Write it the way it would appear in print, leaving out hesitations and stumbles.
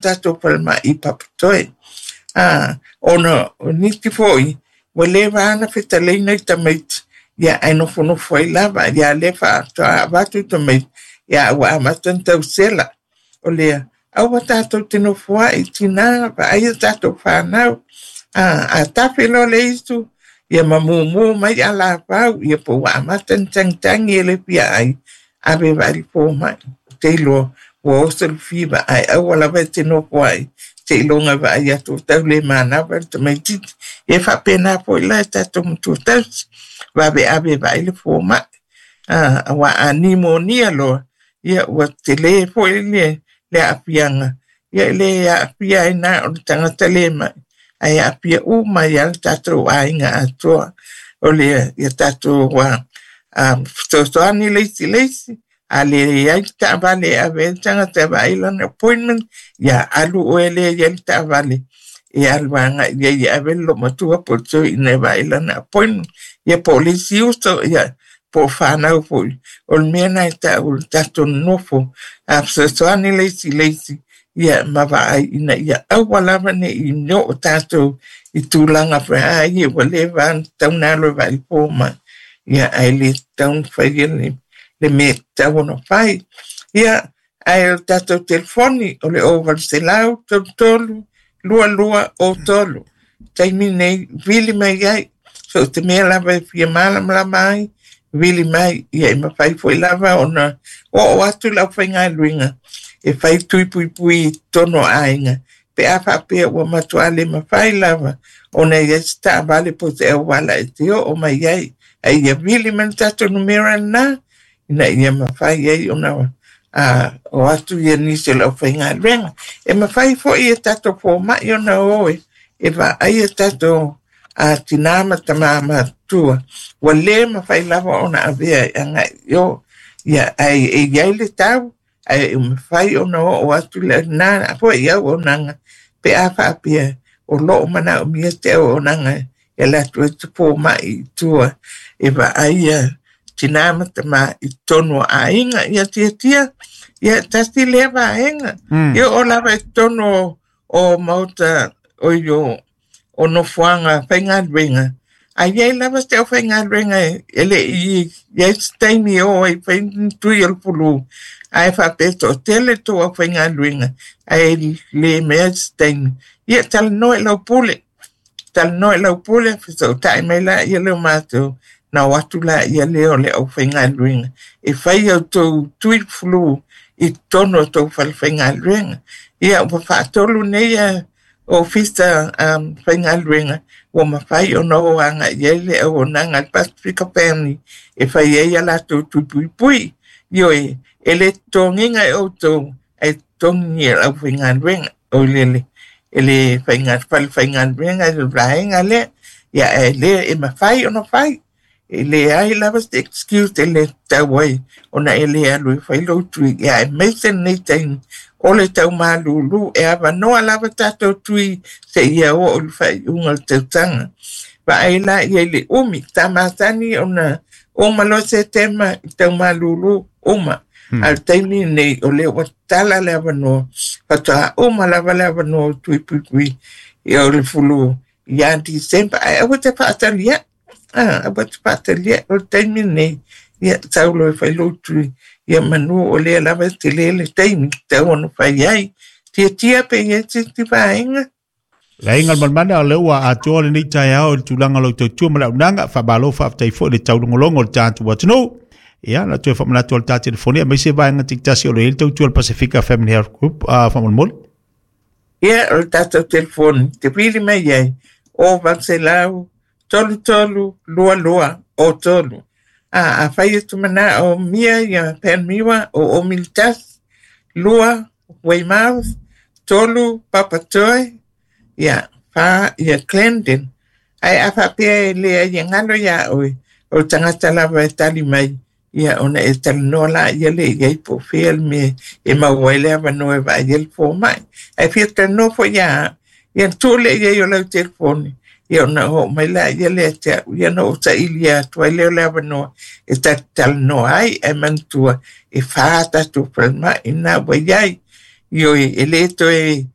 Tatou falemai i Papatoe. Ona o nisi foi ua leva lava ona fetalaina i tamaiti, ia ae nofonofo ai lava. Ia lea faatoa avatu i tamaiti, ia ua amata ona tausela. O lea, aua tatou te nofoai, tina, vaai a tatou fanau. A tafe loa le isu, ia ma mumu mai alafau, ia po ua amata ona tagitagi e le fia ai, ave e vaai le fomai. Ou te iloa ua oso le fiva, ae aua lava e te nofo ai, seiloga e vaai atu ua tau le manava le tamaitiiti. E faapena foi la e tatou matua tausi, vave ave e vaai le fomai. Aua a nimonia loa, ia ua tele foi le aafiaga, ia e le aafia ai na o le tagata le mai, ae aafia uma ai lava le tatou aiga atoa. O lea, ia tatou fesoasoani le isi i le isi, a leai le taavale e ave ai le tagata e vaai lana appointment, ia alu oe lea i ai le taavale e alu agai i ai e ave le loomatua po o le toeaina e vaai lana appointment. Ia po o le isi uso, ia po o fanau foi. O le mea lena e taua le tatou nonofo, a fesoasoani le isi i le isi, ia ma vaai ina ia aua lava ne i oo tatou i tulaga foi a ia ua leva ona tatau ona alu e vaai le fomai. Ia ae le tatau ona faia le mea e tatau ona fai. Ia, ae o le tatou telefoni o le 0800 33 22 03. Taimi nei, vili mai ai. So o te mea lava e fia malamalama ai, vili mai. Ia e mafai foi lava ona oo atu le aufaigaluega e fai tui puipui i totonu o aiga. Pe a faapea ua matua le mafai lava ona i ai se taavale po o se auala e te oo mai ai. Ae ia vili mai le tatou numera lena, ina ia mafai ai ona o atu ia nisi o le aufaigaluega. E mafai foi e tatou fomai ona o e vaai e tatou tina ma tama matutua. Ua le mafai lava ona avea e agai i o. Ia, ae e i ai le tau, ae e mafai ona oo atu lena foi auaunaga pe a faapea o loo manaomia se auaunaga e alu atu ai se fomai i tua e vaai tina ma tama i totonu o aiga. Ia tiatia, ia tasi lea vaega. Ia o lava i totonu o maota o i o nofoaga faigaluega. A iai lava se aufaigaluega e le i iai se taimi e o ai fai ni tui o le flu, ae faapea e toatele tou aufaigaluega ae le mea se taimi. Ia talanoa i lau pule. Talanoa i lau pule, fesootai mai laia lea o matou, na o atu laia lea o le aufaigaluega e fai au tou tui flu i totonu o tou falefaigaluega. Ia ua faatolu nei ofisa faigaluega ua mafai ona o agai i ai le auaunaga a le Pasifika Family e fai ai a latou tui puipui. Ioe, e le totogiina e outou, ae totogi e le aufaigaluega o le e le falefaigaluega i le vaega lea. Ia ae lea e mafai ona fai. E leai lava se excuse e le tatau ai ona e le alu e fai lou tui. Ia aemaise lenei taimi o le taumalulu e avanoa lava tatou tui seia oo i le faaiuga o le tausaga. Vaai la ia i le umi, sa masani ona uma loa Setema i taumalulu uma. A o le taimi lenei o lea ua tatala le avanoa, faatoa uma lava le avanoa o tui puipui o le flu ia December. Ae aua te faataliai. Aua te faataliai o le taimi lenei, ia sau loa e fai lou tui, ia manu o lea lava e tele le taimi tatau ona fai ai. Tiatia pe i ai se isi vaega. Le aiga o le Malemale, o lea ua atoa lenei taeao i le tulaga o lau tautua ma le auaunaga. Faamalo faafetai foi i le taulogologo o le tatou atunuu. Ia, na toe faamanatu o le ta telefoni, aemaise vaega taitasi o lo o i ai le tautua a le Pasifika Family Health Group, faamolemole. Ia, o le tatou telefoni, te vili mai ai, o 800 33 22 o 3. A fai e te manao mia ia Panmure o Militas, 2 Weymouth, 3 Papatoe, ia 4 ia Clendon. Ae a faapea e leai e galo ia oe, o le tagata lava e tali mai, ia ona e talanoa la ia le i ai po o fea le mea e maua ai le avanoa e vaai ai le fomai. Ae fia talanoa foi ia, ia tuu lea i ai o lau telefoni, ia ona oo mai la ia lea te au, ia na ou saili atu ai lea o le avanoa e ta talanoa ai, ae manatua e 4 tatou falemai na ua i ai. Ioe, e lē toe.